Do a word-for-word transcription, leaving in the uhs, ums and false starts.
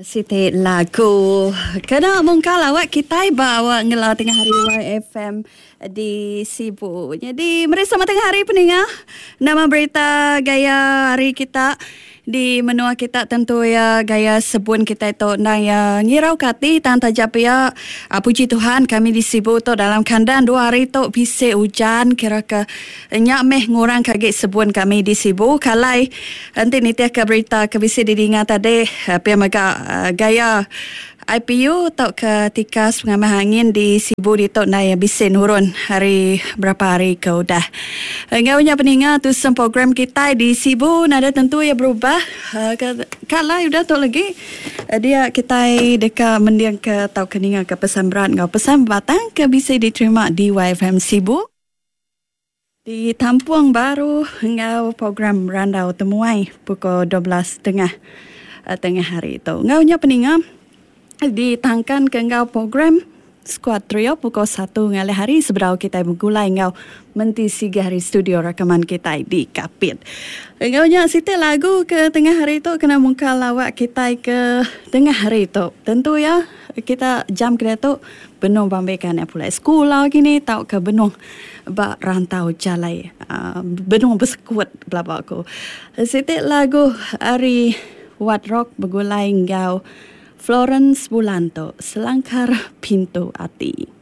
Siti lagu kena mungkal awak kitai ba awak ngelau tengah hari Y F M di Sibu. Jadi meri selamat tengah hari peninga. Nama berita gaya hari kita di menua kita tentu ya gaya sebun kita itu nang ya ngirau kati tang tajap ya. Puji Tuhan kami di Sibu tu dalam kandang dua hari tu bisi hujan kira ke nyak meh ngurang kagi sebun kami di Sibu. Kalai enti nitih ke berita ke bisi didinga tadi pia mega gaya I P U atau ke tikas pengamah angin di Sibu di tok nai bisi nurun hari berapa hari ke udah. Engaunya peninga tu sem program kita di Sibu nada tentu ya berubah. Kalai udah tok lagi dia kita deka mendiang ke tau ke ninga ke pesan berat ngau pesan batang ke bisi diterima di Y F M Sibu. Di Tampung Baru ngau program Randau Temuai pukul dua belas tengah tengah hari tu. Ngaunya peninga ditangkan ke ngau program Squad Trio pukul satu ngalih hari seberau kita bergulai ngau menti siga hari studio rakaman kita di Kapit. Ngaunya siti lagu ke tengah hari tu kena mungkal lawak kita ke tengah hari tu. Tentu ya kita jam kena tu benung bambekan ya pulai sekolah gini tau ke benung ba rantau jalai uh, benung bersekuat bla bla aku. Siti lagu hari Wat Rock bergulai ngau Florence Bulanto, Selangkar Pintu Ati.